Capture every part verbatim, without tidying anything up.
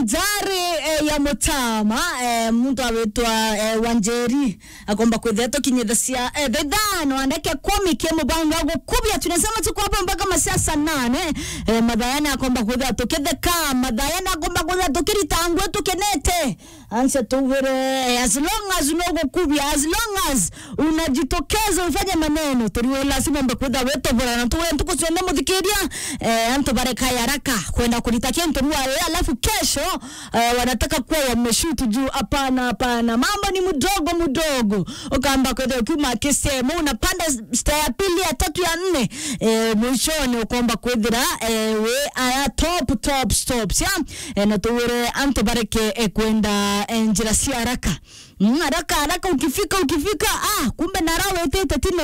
Njari, eh, ya Mutama, eh, muntu awitwa, eh, Wanjeri, akomba kwithira tukinyithacia, eh, thaa ithano andeke kumi kia mubango wa gukubia. Tunasema tuko hapo mpaka masaa saa nane, eh, mathayani akomba kwithira tukitheka, mathayani akomba kwithira tukirita ngwe tukenete. Anse tugwire, eh, as long as no gukubia, as long as unajitokeza ufanye maneno, turiwe lazima mbe kwithira witobora na tuwe ntuku cionthe muthikiria, eh, antu bareka ya haraka kwenda kurita kintu rua, eh, alafu kesho, eh, wanataka kuwa wameshoot juu. Hapana, hapana, mambo ni mdogo mdogo. Ukamba kwenda ukiuma kisemo, unapanda stair ya pili, ya tatu, ya nne, eh, mwishoni ukomba kwithira, eh, we aya top, top stops, ya? Eh, na tuwire antu bareke, eh, kwenda, eh, njira cia haraka. Mm, haraka, haraka, ukifika, ukifika, ah, kumbe nara wetete tino.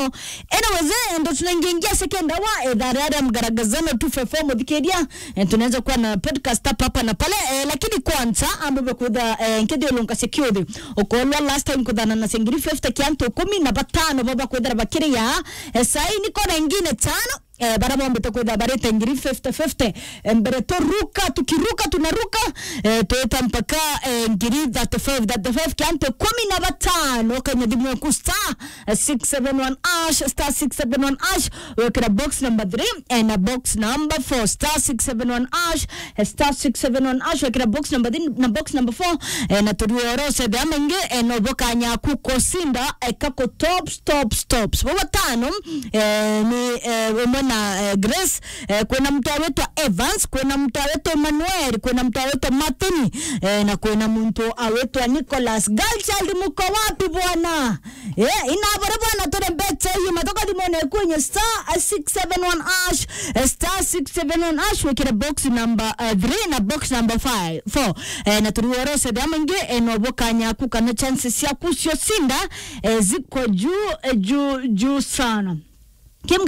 Anyways, eh, ndo tunaingia second hour, eh, thaa ria mgaragazano two five four muthikiria, eh, tunaweza kuwa na podcast hapa, hapa na pale, eh, lakini kwanza, ambe kwitha, eh, nkedi ulunga security. Ukolwa last time kuthana na sengiri fifty kia antu kumi na batano baba kwithira bakiria, eh, sai niko na ingine tano, eh, bara bombete kwitha barite ngiri fifty fifty. Eh, mbere turuka, tukiruka, tunaruka, eh, twita mpaka, eh, ngiri thirty-five, thirty-five kia antu kumi na batano. Kenya thimu yaku star, eh, six seven one hash, star six seven one hash, wekira box number three, eh, na box number four, star six seven one hash, eh, star six seven one hash, wekira box number three na box number four, eh, na turiorose bea maingi, eh, no bokanya kukosinda, eh, kako top, top, top. Bo batano, eh, ni, eh, umwe na, eh, Grace, eh, kwina mtu awitwa Evans, kwina mtu awitwa Emmanuel, kwina mtu awitwa Martin, eh, na kwina muntu awitwa Nicholas. Girl child, muko wapi bwana? Eh, inabore bwana, tore mbete hiyo, matoka dimone kunye star, eh, six seven one hash, eh, star six seven one hash, wekire box number, eh, three na box number five, four. Eh, na turiorose bea maingi, eh, no bokanya ku kana chances ciaku cio sinda, eh, ziko juu, eh, juu, juu sana. Kim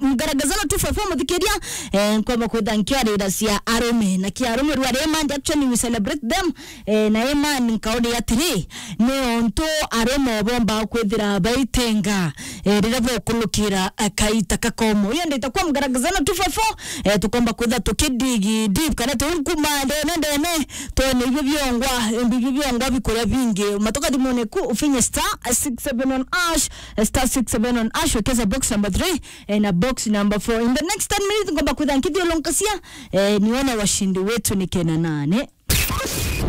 Mgaragazano two five four muthikiria, eh, nkomba kwitha nkiarira cia arume. Na kia arume rwa rema, actually we celebrate them, eh, na ema nkauri atiri, ni ontu arume bomba kwithira baitenga, eh, riria bokulukira, eh, kaita kakomo. Iyo ndita kwa Mgaragazano two five four, eh, tukomba kwitha tukidigi deep, kana tunkuma ndene ndene, twone ibyo biongwa, ibyo biongwa bikuria bingi. Matoka dimone ku ufinye star six seven one hash, star six seven one hash, wekeza box number three, eh, na box number four. In the next ten minutes, ngomba kwitha nkithiulunkasia, eh, nione washindi wetu ni kena nane.